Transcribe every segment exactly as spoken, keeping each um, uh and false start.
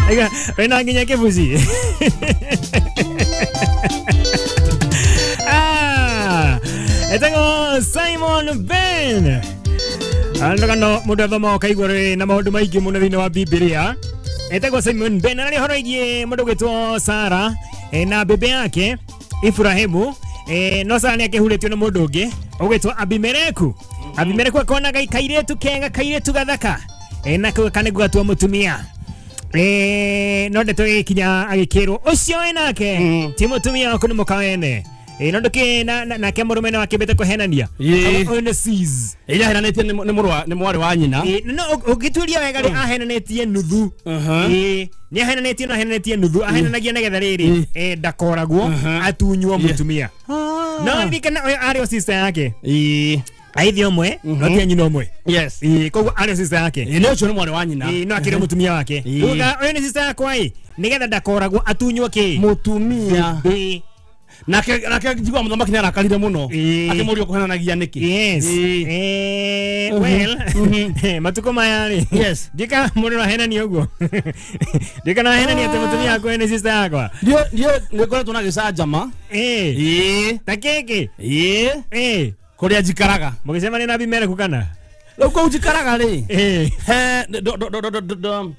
Aiga wena nginya kibuci. Ah, etagwo Simon Ben. Andũ mũndũ athoma ũkaigua rĩ na maũndũ maingĩ mũno thĩinĩ wa Bibilia. Etagwo Simon Ben na nĩ ũhoro wĩgiĩ mũndũ ũgwĩtwo Sara na bebe yake Ibrahimu. Eh, no Sara nĩ akĩhurĩtio nĩ mũndũ ũngĩ ũgwĩtwo Abimeleku. Abimeleku akona kairĩtu kega, kairĩtu gathaka, eh, na kanĩguo gatua mũtumia. Eh, no ndeto ĩgĩkinya agĩkĩrwo ũcio wĩ nake ti mũtumia waku nĩ mũka wene. Eh, no nduki na nake mũrũme nĩ wakĩmbĩte kũhenania. Ũyũ nĩ sis. Ĩrĩa ahenanĩtie nĩ mũrũ wa nĩ mwarĩ wa nyina. Eh, no ũngĩtuĩria wega rĩ ahenanĩtie nuthu. Eh, nĩ ahenanĩtie no ahenanĩtie nuthu, ahenanagia nĩgetha rĩrĩ eh ndakoragwo atunywo mũtumia. No ndirikana ũyũ arĩ o sister yake. Eh, aithi ũmwe no ti nyina ũmwe. Yes. Eh, koguo arĩ o sister yake. Eh, nĩ ũcio nĩ mwarĩ wa nyina. Eh, no akĩrĩ mũtumia wake. Uga ũyũ nĩ sister yakwa ĩ nĩgetha ndakoragwo atunywo kĩ? Mũtumia. Eh. Nake nake njigua mũthamaki nĩ arakarire mũno akĩmũria kũhenanagia nĩkĩ. Yes. Eh, well, matukũ maya rĩ. Yes. Ndika mũndũ ahenania ũguo. Ndika na ahenania atĩ mũtumia wakwa nĩ sister yakwa. Ndio ndio nĩkoretwo na gĩcanjama. Eh. Eh. Ta kĩkĩ? Eh. Eh. Kũrĩa njikaraga. Mũgĩcemania na Abimeleku kana? Rĩu kũu njikaraga rĩ. Eh. He do do do do do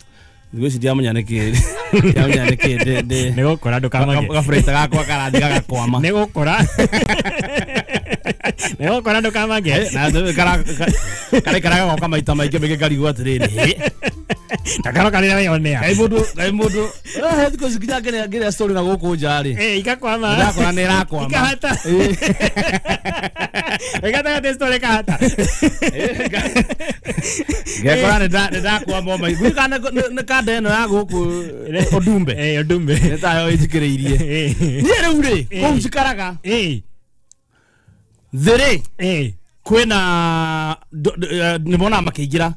thikũ ici ndiamenya nĩkĩ ndiamenya nĩkĩ ndĩ ndĩ nĩ gũkora ndũkamake gaburĩta gakwa karathiĩ gagakwama nĩ gũkora nĩ gũkora ndũkamake na karaikaraga goka maita maingĩ maingĩ ngarigwo atĩrĩrĩ na karoka rĩrĩa weyonea kaĩ mũndũ kaĩ mũndũ eh thikũ ici nginya ngĩrĩa story na gũkũ nja rĩ eh ikakwama ndakora nĩ ĩrakwama ikahata ĩgatagatĩ story kahata ngekora nĩ ndakwama o maingĩ kana nĩ kanda ĩno ya gũkũ Odumbe eh Odumbe nĩ tayo ĩnjikĩrĩirie niĩ rĩu rĩ kũu njikaraga eh thĩ rĩ eh kwĩna nĩ monaga makĩingĩra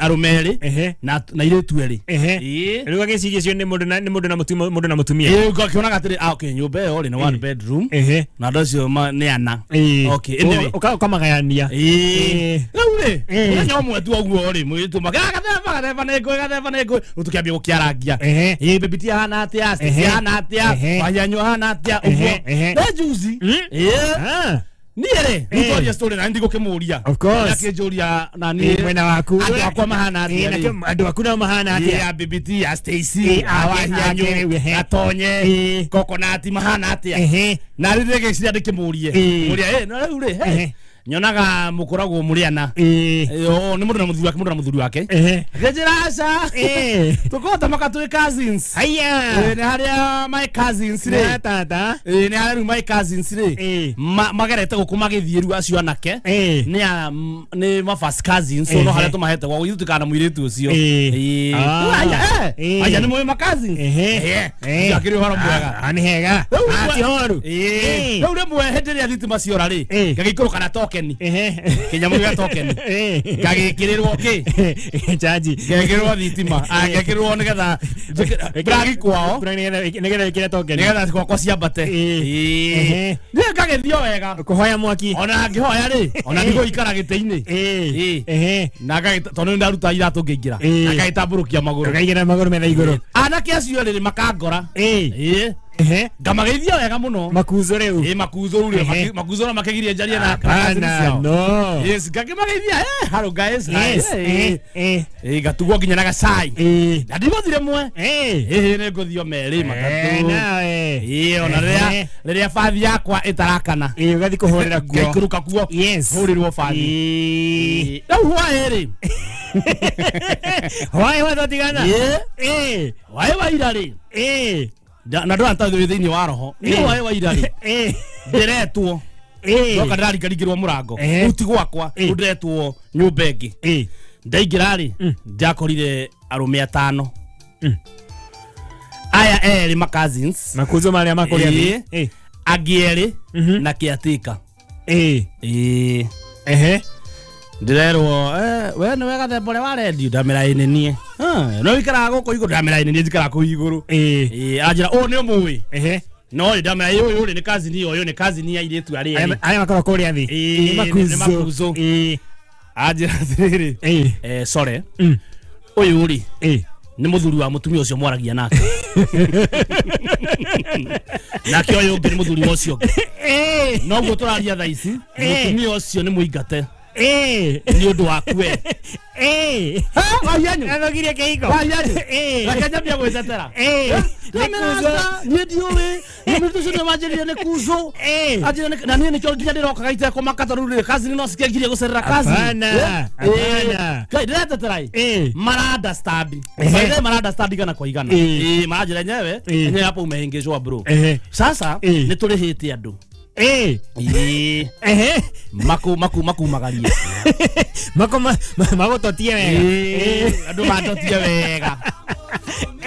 arũme erĩ na na airĩtu erĩ. Rĩu agĩciria ũcio nĩ mũndũ na nĩ mũndũ na mũtumia mũndũ na mũtumia. Ĩĩ ũgakĩonaga atĩrĩ ah okay nyũmba ĩyo rĩ nĩ one bedroom na andũ acio nĩ ana. Okay anyway ũkamagayania. Ĩĩ rĩu rĩ mũthenya ũmwe tu ũguo rĩ mũirĩtu magathemba gathemba nĩ ngũĩ gathemba nĩ ngũĩ rĩu tũkĩambia gũkĩarangia. Ĩĩ baby ti ahana atĩa Stacy ahana atĩa Wanyanyu ahana atĩa ũguo nĩ juzi. Ĩĩ niĩ rĩ nĩtwaria story na ndigũkĩmũria Of course akĩnjũria na niĩ mwena waku andũ akwa mahana atĩa rĩ andũ aku nao mahana atĩa ya B B T ya Stacy Awanyanyu Gatonye Coconut mahana atĩa na rĩu ngĩciria ndĩkĩmũrie mũria ĩ no rĩu rĩ nyonaga mũkoragwo mũrĩ ana nĩ mũndũ na mũthuri wake mũndũ na mũthuri wake akĩnjĩra aca tũkoragwo ta maka twĩ cousins haya nĩ harĩa my cousins rĩ tata nĩ harĩa rĩu my cousins rĩ magerete gũkũ magĩthiĩ rĩu acio anake nĩ nĩ ma first cousins so no harĩa tũmahete gwa gũthiĩ tũkana mũirĩtu ũcio aya nĩ mũĩ ma cousins akĩrĩ ũhoro mwega nĩ hega ti horu rĩu rĩmwe hĩndĩ ĩrĩa thitima ciora rĩ ngagĩikũrũka na token kinyamu gĩa token ngagĩkĩrĩrwo kĩ chaji ngekĩrĩrwo thitima ngekĩrĩrwo nĩgetha plug kwao nĩgetha ĩkĩre token nĩgetha gwakwa ciambate niĩ ngagĩthiĩ o wega kũhoya mwaki ona ngĩhoya rĩ ona ndigũikara gĩtĩ-inĩ na tondũ nĩ ndaruta iratũ ngĩingĩra na ngagĩtambũrũkia magũrũ ngaigĩra magũrũ metha igũrũ anake acio rĩ makangora Ehe ngamageithia wega muno makuzo rĩu ĩ makuzo rĩu rĩ makuzo no makegirie njarie na hapana no yes ngakimageithia eh hello guys yes eh eh eh gatugwo nginya na gacai na ndigũthire mwe eh eh nĩ ngũthio merĩ matatũ nawe ĩ ona rĩrĩa rĩrĩa bathi yakwa ĩtarakana ĩ ũgathiĩ kũhũrĩra kuo ngaikũrũka kuo yes hũrĩrwo bathi rĩu hwaĩ rĩ hwaĩ watũtigana ĩ hwaĩ wa ira rĩ ĩ na ndå thä inä wa roho nä waä wa ira rä ndäretwo ndoka ndärarikaringä må rango rä u ti gwakwa rä u ndäretwo nyå mba ä ngä ndaingä ra rä ndakorire arå me atano aya erä ma cousins makuzo marĩa makũrĩa thĩ angä erä na kĩatĩka ĩ ehe ndĩrerwo we nĩ we gathemba ũrĩa wa redio ndamĩra ĩ nĩ niĩ no wikaraga gũkũ igũrũ ndamĩra ĩ nĩ niĩ njikaraga kũu igũrũ anjĩra ũũ nĩ ũmũĩ no ndamĩra ĩ ũyũ rĩ nĩ cousin ũyũ nĩ cousin ya airĩtu arĩa erĩ arĩa makoragwo kũrĩa thĩ nĩ makuzo anjĩra atĩrĩrĩ sorry ũyũ rĩ Nĩ mũthuri wa mũtumia ũcio mwaragia nake. Nake ũyũ ũngĩ nĩ mũthuri wa ũcio ũngĩ. Noguo tũraria thaa ici mũtumia ũcio nĩ mũingate. Nĩ ũndũ waku we. Wahianyu. Athũkirie kĩhiko. Wahianyu. Reke nyambie gwĩtetera. Niĩ ndiũĩ. Mũndũ ũcio nĩ wanjĩrire nĩ kuzo. Anjĩrire na niĩ nĩkĩo nginya ndĩrokaga itekũmaka tondũ rĩu kazi no cikie ngirie gũcerera kazi. Hapana. Hapana. Ngai ndĩretetera ĩ. Mara understand. Maithe mara understand igana kwa igana. Eh maranjĩra enyewe enyewe hapo umeingizwa bro. Sasa nĩ tũrĩhĩte andũ. Eh. Eh. Maku maku maku magarie. Mako magototie wega. Eh. Andu matotie wega.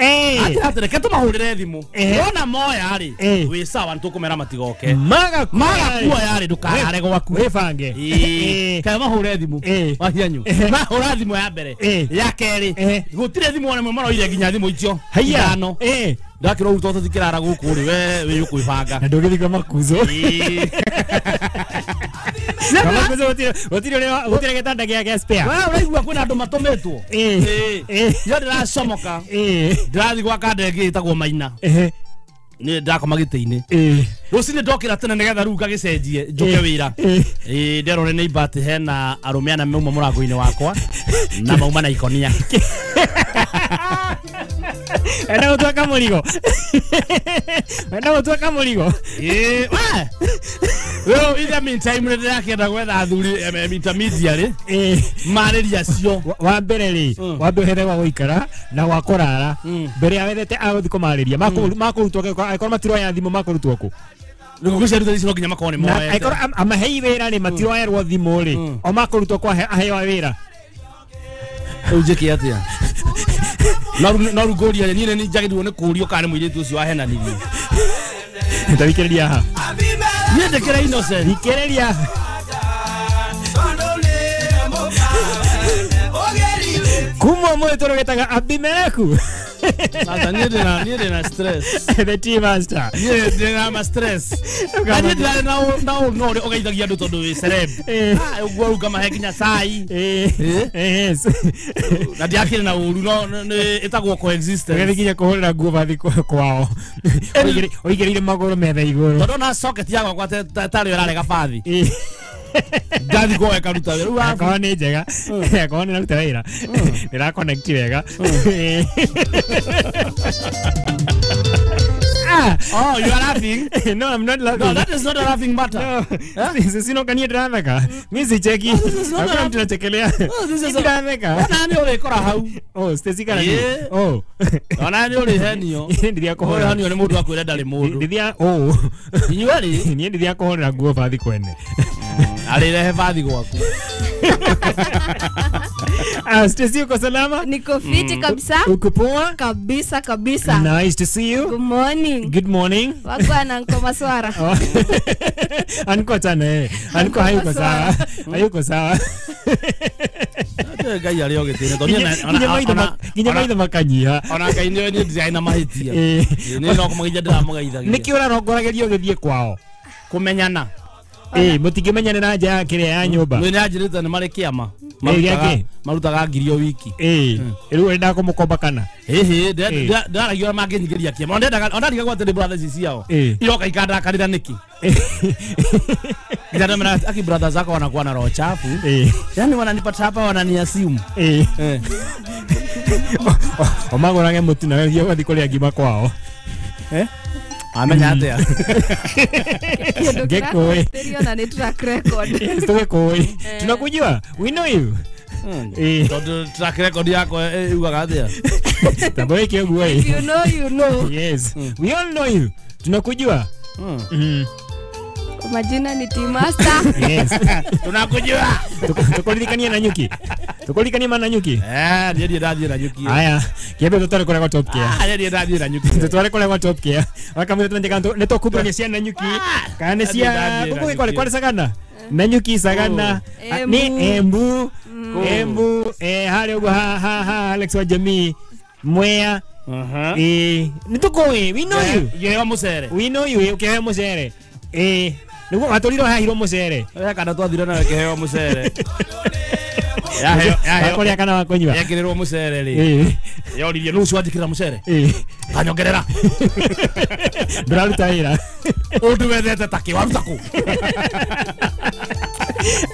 Eh. Ati atere ke tumahurire thimu. Wona moya ri. Wi sawa nitukumera matigoke. Maga maga kuoya ri ndukarare gwaku. Wibange. Eh. Kae mahure thimu. Wahianyu. Mahura thimu ya mbere. Ya keri. Gutire thimu ona maroire nginya thimu icio. Haiya. Eh. Ndakirwo uto tutikirara guku ri we wi ukwibanga. Na ndugithika makuzo. Makuzo gutire gutire gutire gitanda gia spare. We uraigua kwina andu matumitwo. Eh. Eh. Yo ndiracomoka. Eh. Ndirathi gwa kanda ĩngĩ ĩtagwo Maina. Eh. Ni ndakoma gĩtĩ-inĩ. Eh. Rũcinĩ ndokĩra tene nĩgetha rĩu ngagĩcenjie njũke wĩra. Eh. Nderore nĩ ibati hena arũme ana mauma mũrango-inĩ wakwa na mauma na ikonia. Enda gũtuĩka mũrigo. Enda gũtuĩka mũrigo. Eh, we. Rĩu in the meantime nĩ ndĩrakĩenda gwetha athuri intermediary. Eh. Marĩria acio. Wa mbere rĩ, wambe ũhethe gwa gũikara na gwa kũrara. Mbere ya wethete agũthiĩ kũmarĩria. Makũrutwo angĩkorwo matiroya thimũ makũrutwo kũ? Nĩguo ciaruta ici no nginya makorwo nĩ moete. Angĩkorwo amahei wĩra rĩ matiroerwo thimũ rĩ, o makũrutwo kwa aheo wĩra. Rĩu njĩke atĩa? No rĩu ngũria niĩ nĩ njagĩrĩirwo nĩ kũũrio kana nĩ mũirĩtu ũcio wahenanirie. Thikĩrĩria haha. Niĩ ndĩkĩrĩ innocent. Thikĩrĩria. Kuma ũmũthĩ tũrũgĩtaga Abimeleku. Sasa niĩ ndĩna niĩ ndĩna stress. The tea master. Niĩ ndĩna ma stress. Na niĩ ndĩrarĩ na na ũru no ũrĩa ũgeithagia andũ tondũ wĩ celeb. Ah ũguo rĩu ngamahe nginya cai. Eh. Yes. Na ndiakĩrĩ na ũru no nĩ ĩtagwo coexistence. Ũgĩthiĩ nginya kũhũrĩra nguo bathi kwao. Ũigĩrĩire magũrũ metha igũrũ. Tondũ ona socket yakwa tarĩ ĩrarega bathi. Ndathi kwa ekaruta wĩra. Rĩu akorwo nĩ njega. Akorwo nĩ raruta wĩra. Nĩ connect wega. Ah, oh, you are laughing? No, I'm not laughing. No, that is not a laughing matter. No. Sisi no kanie ndiratheka. Mimi sicheki. Hakuna mtu anachekelea. Ndiratheka. Ona nĩ ũrĩkora hau. Oh, Stacy kana ni. Oh. Ona nĩ ũrĩhenio. Ndithia kũhũra. Ũrĩhenio nĩ mũndũ akwĩra ndarĩ mũndũ. Ndithia oh. Inyuĩ rĩ? Niĩ ndithia kũhũrĩra nguo bathi kwene. Arĩrehe bathi gwaku. Ah, Stacy uko salama? Niko fiti mm. kabisa. Uko poa? Kabisa kabisa. Nice to see you. Good morning. Good morning. Wako na nko maswara. Anko tana eh. Anko hayuko sawa. Hayuko sawa. Ate ngai arĩ o gĩtĩ-inĩ tondũ niĩ nginya maitho makanyiha. Ona ngai nĩ niĩ ndirarĩ na mahĩtia. Niĩ no kũmũgeithia ndĩramũgeithagia. Nĩkĩ ũrarongorageria ũgĩthiĩ kwao? Kũmenyana. Eh, mutikĩmenyane na nja ya kĩrĩa ya nyũmba. Nĩ nĩanjĩrĩte nĩ marĩ kĩama. Marutaga marutaga ngiri o wiki. Eh, rĩu ũrenda kũmũkomba kana? Ĩhĩ, ndaragia ũrĩa mangĩnyingĩria kĩama. Ona ndendaga ona ndarigagwo atĩ nĩ brothers ici ciao. Iroka ikandakarĩra nĩkĩ? Nginya ndamera aki brothers zako wanakuwa na roho chafu. Yaani wananipata hapa wananiassume. Eh. Omagũrage mũtu nawe ũthiĩ ũgathiĩ kũrĩa ngima kwao. Eh? Amenya atia. Ngekũĩ. Tũriona nĩ track record. Yes, tũgĩkũĩ. Tunakujua. We know you. Eh. Tondũ track record yako yugaga atia? Tambo ĩke ũguo ĩ. You know you know. Yes. We all know you. Tunakujua. Mm. Majina ni Team Master. Yes. Tunakujua. Tukuririkania na nyuki. Tukuririkania na nyuki. Eh, ndiye ndathiĩ na nyuki. Aya, kiambe tutware kũrĩa gwa Top Care. Ah, ndiye ndathiĩ na nyuki. Tutware kũrĩa gwa Top Care. Wakamwĩra tumenye kana nĩ tũkumbũrania cia na nyuki. Kana nĩ cia gũkũ kware kware Sagana. Na nyuki Sagana. Nĩ Embu. Embu eh harĩa ũguo ha ha ha Alex wa Jamii. Mwea. Aha. Eh, nĩ tũkũĩ. We know you. Ngĩheo mũcere. We know you ũkĩheo mũcere. Eh, nĩguo watũrirwo hahirwo mũcere. He kana twathire nawe kĩheo mũcere. Yaheo yaheo Wakuria kana wakunyua. Yekirirwo mucere ri. Eh. Yoririe nucu anjikirira mucere. Eh. Kanyongerera. Nduraruta wira. Undu wethete taki waruta ku.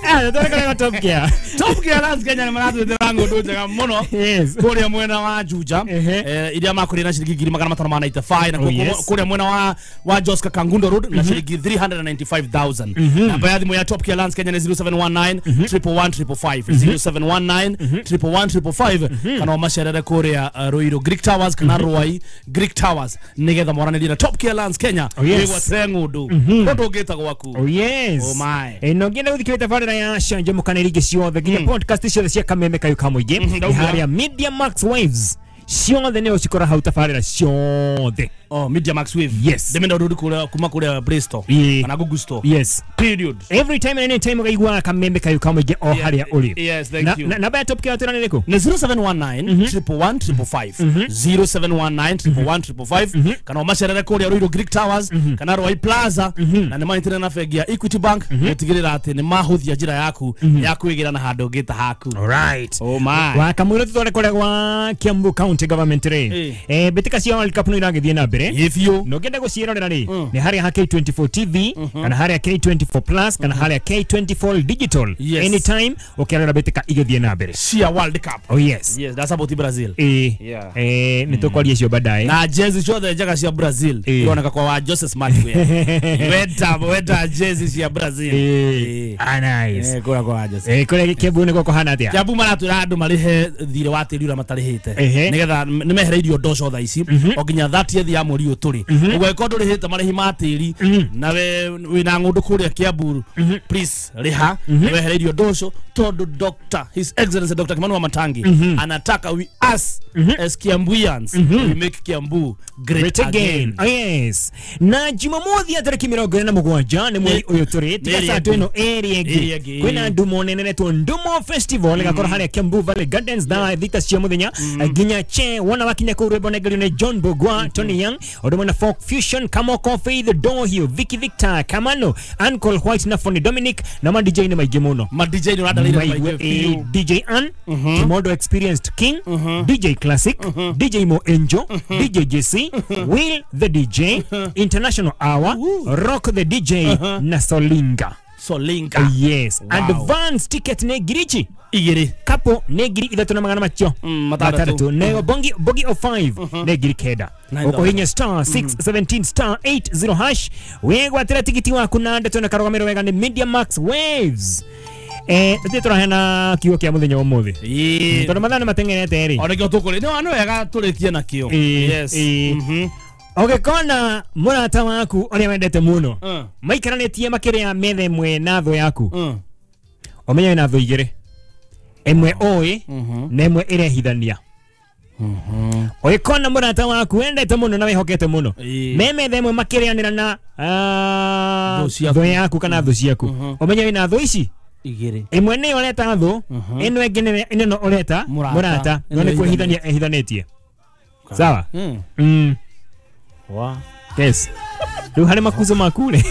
Ah, ndore Top Gear. Top Gear Lands Kenya nĩ maratwĩtĩra ng'ũndũ njega mũno. Yes. Kũrĩa mwena wa Juja eh iria makũrĩa na ciringi ngiri magana matano ma ninety five na Oh, yes. kũrĩa mwena wa wa Joska Kangundo Road na ciringi three hundred ninety five thousand. Namba ya thimũ ya Top Gear Lands Kenya nĩ zero seven one nine triple one triple five zero seven one nine triple one triple five kana macerere kũrĩa uh, Ruiru Greek Towers kana Ruai Greek Towers nĩgetha mwaranĩrie na Top Gear Lands Kenya Oh, yes. wĩgwatĩre ng'ũndũ ũndũ ũngĩta gwaku. Oh yes. Oh my. Eh no ngenda guthikĩrĩria tabarĩra ya Canjamũkana ingĩ ciothe nginya podcast ciothe cia Kameme Kayu ka Mũingĩ Mhm, ndauga. harĩa Media Max Waves ciothe nĩ ũcikora hau tabarĩra ciothe. Oh, Media Max Wave. Yes. Ndemenda ũndũ kũrĩa kuma kũrĩa Play Store Ĩĩ. kana Google Store. Yes. Period. Every time and any time ukaigua Kameme Kayu ka Mũingĩ o Yeah, harĩa ũrĩ. yes, thank Na- you. na- Namba ya Top Gear twĩra nĩ ĩrĩkũ? Nĩ zero seven one nine triple one triple five zero seven one nine triple one triple five kana ũmacerere kũrĩa Ruiru Greek Towers kana Ruai Plaza na nĩ manyitanĩire na bengi ya Equity Bank gũtigĩrĩra atĩ nĩ mahũthia njĩra yaku ya kwĩgĩra na handũ ũngĩ ta haku. Alright. Oh my. Wakamwĩra tutware kũrĩa gwa Kiambu County Government rĩ. Eh. Eh mbĩtĩka cia World Cup no iragĩthiĩ na mbere. Ĩ biũ. No ngenda gũciĩrorera rĩ nĩ harĩa ha K twenty four T V kana harĩa K twenty four Plus kana harĩa K twenty four Digital. Yes. Anytime ũkĩrora mbĩtĩka igĩthiĩ na mbere. Cia World Cup. Oh yes. Yes, that's about Brazil. Eh Yeah. eh nĩ tũkwaria icio baadaye. Na jezi ciothe njega cia Brazil Eh. ironeka kwa wa Jose Smartwear. Wenda wenda jezi cia Brazil. Eh. Ah nice. Eh kũrĩa kwa wa Jose. Eh kũrĩa Kiambu nĩkuo kũhana atĩa? Kiambu maratwĩra andũ marĩhe thirĩ wa tĩri ũrĩa matarĩhĩte Ehe. nĩgetha nĩmehereirio ndoco thaa ici o nginya thirtieth ya mweri ũyũ tũrĩ ũguo angĩkorwo ndũrĩhĩte marĩhi ma tĩri na we wĩna ng'ũndũ kũrĩa Kiambu please rĩha nĩwehereirio ndoco tondũ Doctor His Excellency Doctor Kimani Wamatangi anataka we us as Kiambuians we make Kiambu great Great again. again. Oh yes. Na Jumamothi ya tarĩki mĩrongo ĩna na mũgwanja nĩ mweri ũyũ tũrĩ tiga Ĩrĩ saa ĩngĩ. ĩno ĩrĩ Ĩrĩ ĩngĩ ĩngĩ. kwĩna ndumo nene netwo Ndumo Festival ĩgakorwo harĩa Kiambu Valley Gardens thaa thita cia mũthenya nginya che wona wakinya kũu rwĩmbo nengerio nĩ John Bogwa Tony Young ũndũ ũmwe na Folk Fusion Kamoko Faith Dohio Vicky Victor Kamano Uncle White na Fonny Dominic na ma D J nĩ maingĩ mũno. Ma D J nĩ ũrandarĩire Maigue, maingĩ biũ. eh, D J Ann, Kimondo Experienced King, D J Classic, D J Mo Angel, D J J C, Will the D J, International Hour, Rock the D J na Solinga. Solinga. Yes. Wow. Advance ticket nĩ ngiri ici. Igĩrĩ. Kapo nĩ ngiri ithatũ na magana macio Mm, matandatũ. Nayo bongi bogi o five nĩ ngiri kenda. Nine thousand. Ũkũhinya star six seventeen star eight zero hash wĩgwatĩra tigiti waku na ndeto na karũgamĩrĩro wega nĩ Media Max Waves. Eh tũthiĩ tũraheana kiugo kĩa mũthenya wa ũmũthĩ. Ĩĩ. Tondũ mathaa nĩ mateng'erete rĩ. O nĩkĩo tũkũrĩ nĩ nĩ wega tũrĩkie nakĩo. Ĩĩ, Yes. ĩĩ. Mhm. Ũgĩkona mũrata waku ũrĩa wendete mũno Mm. maikaranĩtie makĩrĩa metha ĩmwe na thũ yaku Mm. ũmenye wĩna thũ igĩrĩ ĩmwe ũĩ na ĩmwe ĩrehithania. Ũgĩkona mũrata waku wendete mũno na wĩhokete mũno Ĩĩ. me metha ĩmwe makĩrĩanĩra na ah, Thũ ciaku. thũ yaku kana thũ ciaku ũmenye wĩna thũ ici Igĩrĩ. ĩmwe nĩyo ũreta thũ ĩno ĩngĩ nĩ- ĩno ũreta Mũrata. mũrata no Ĩno nĩ kwĩhithania ĩhithanĩtie. Sawa? Mm. Mm. Wa. Yes. Rĩu harĩ makuzo maku rĩ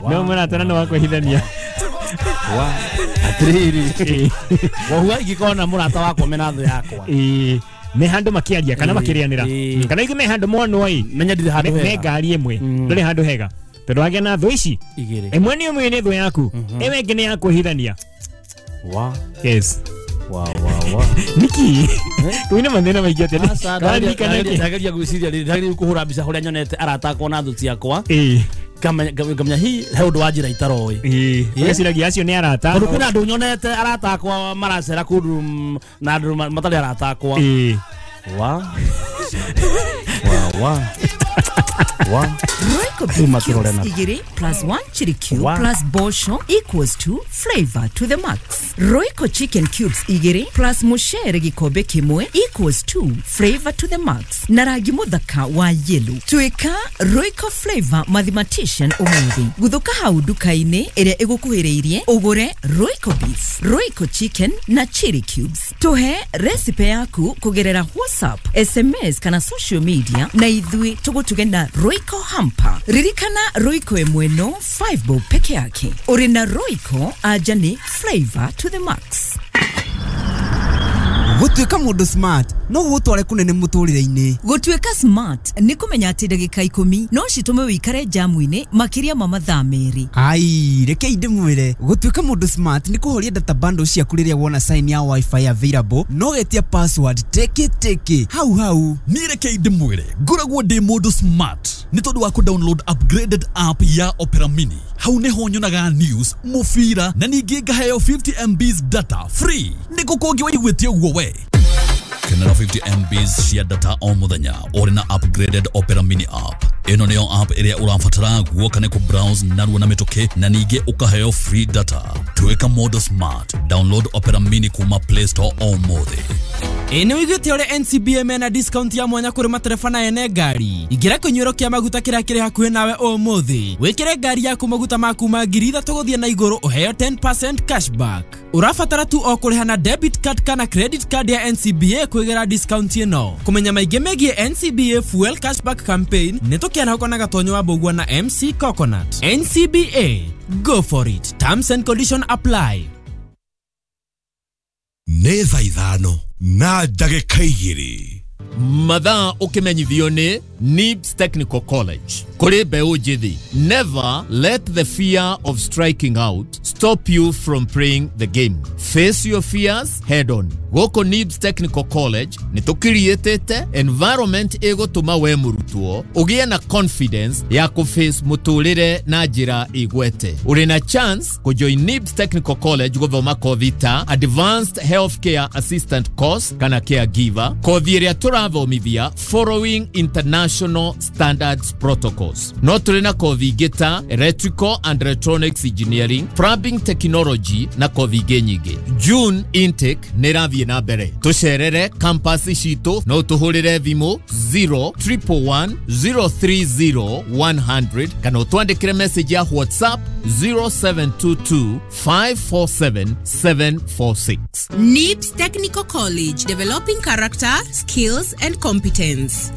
no mũrata na no wa kwĩhithania. Wa. Atĩrĩrĩ. Ĩĩ. Wohuga ingĩkona mũrata wakwa mena thũ yakwa. Ĩĩ. Me handũ makĩaria kana Ĩĩ, makĩrĩanĩra ĩĩ. kana ingĩ me handũ monwo ĩ Menya ndirĩ handũ me me hega. ngari ĩmwe ndũrĩ handũ hega tondũ wagĩa na thũ ici Igĩrĩ. ĩmwe nĩ ĩmwe nĩ thũ yaku ĩyo ĩngĩ nĩ ya kwĩhithania. Wa. Yes. Wa wa wa. Niki kwĩna mathĩna maingĩ atĩa Aca, Ũraririkana ndageria kĩ? ndageria gwĩciria rĩ ndageria kũhũra mbica kũrĩa nyonete arata akwa na thũ ciakwa Ĩĩ. ngamenya ngamenya hi he ũndũ wa njĩra itaroĩ. Ĩĩ. Ũgeciragia acio nĩ arata. Tondũ kwĩna andũ nyonete arata akwa maracera kũndũ mm, na andũ ma- matarĩ arata akwa. Ĩĩ. Wa. Wa wa. Wa. Royco Rĩu beef makĩrore cubes na- igĩrĩ plus one chili cube Wow. plus bosho equals to flavor to the max. Royco chicken cubes igĩrĩ plus mucere gĩkombe kĩmwe equals to flavor to the max. Na rangi mũthaka wa yellow. Tuĩka Royco flavor mathematician ũmũthĩ. Gũthũka hau nduka-inĩ ĩrĩa ĩgũkuhĩrĩirie ũgũre Royco beef, Royco chicken na chili cubes. Tũhe recipe yaku kũgerera WhatsApp, S M S kana social media na ithuĩ tũgũtuge na Royco hamper. Ririkana Royco ĩmwe no five bob peke yake. Ũrĩ na Royco anja nĩ flavor to the max. Gũtuĩka mũndũ smart no gũgũtware kũnene mũtũrĩre-inĩ. Gũtuĩka smart nĩ kũmenya atĩ ndagĩka ikũmi no citũme wĩikare jamu-inĩ makĩria ma mathaa merĩ. Ai, rekei ndĩmwĩre, gũtuĩka mũndũ smart nĩ kũhoria data bundle ciaku rĩrĩa wona sign ya wifi available no getia password teke teke hau hau. Niĩ rekei ndĩmwĩre, ngoragwo ndĩ mũndũ smart nĩ tondũ wa kũ-download upgraded app ya Opera Mini. Hau nĩho nyonaga news, mũbira na ningĩ ngaheo fifty M Bs data free. Nĩ kũ kũngĩ waiguĩte ũguo we? Kenera fifty M Bs cia data o mũthenya ũrĩ na upgraded Opera Mini app. Ĩno nĩyo app ĩrĩa ũrabatara guoka nĩ kũ-browse narua na mĩtũkĩ na ningĩ ũkaheo free data. Tuĩka mũndũ smart. Download Opera Mini kuma Play Store o mũthĩ. Ĩ nĩ wĩiguĩte ũrĩa N C B A mena discount ya mwanya kũrĩ matereba na ene ngari. Ingĩra kĩnyuĩro kĩa maguta kĩrĩa kĩrĩ hakuhĩ nawe ũmũthĩ. Wĩkĩre ngari yaku maguta ma kuma ngiri ithatũ gũthiĩ na igũrũ ũheo ten percent cashback. Ũrabatara tu o kũrĩha na debit card kana credit card ya N C B A kwĩgĩra discount ĩno. Kũmenya maingĩ megiĩ N C B A Fuel Cashback Campaign nĩ tũkĩarahũka na Gatonyo wa Mbũgua na M C Coconut. N C B A, go for it. Terms and conditions apply. Nĩ thaa ithano na ndagĩka igĩrĩ. Mathaa ũkĩmenyithio nĩ Nibs Technical College. Kũrĩ mbeũ njĩthĩ, never let the fear of striking out stop you from playing the game. Face your fears head on. Gũkũ Nibs Technical College nĩ tũkiriĩtĩte environment ĩgũtũma we mũrutwo ũgĩe na confidence ya kũface mũtũrĩre na njĩra ĩgwete. Ũrĩ na chance kũjoin Nibs Technical College gũthoma kothi ta Advanced Healthcare Assistant Course kana Caregiver, kothi ĩrĩa tũrathomithia following international standards protocols. No tũrĩ na kothi ingĩ ta Electrical and Electronics Engineering, Plumbing Technology na kothi ingĩ nyingĩ. June intake nĩ ĩrathiĩ na mbere. Tũcerere campus citũ no tũhũrĩre thimũ zero triple one zero three zero one hundred kana ũtwandĩkĩre message ya WhatsApp zero seven two two five four seven seven four six. Nibs Technical College, developing character, skills and competence.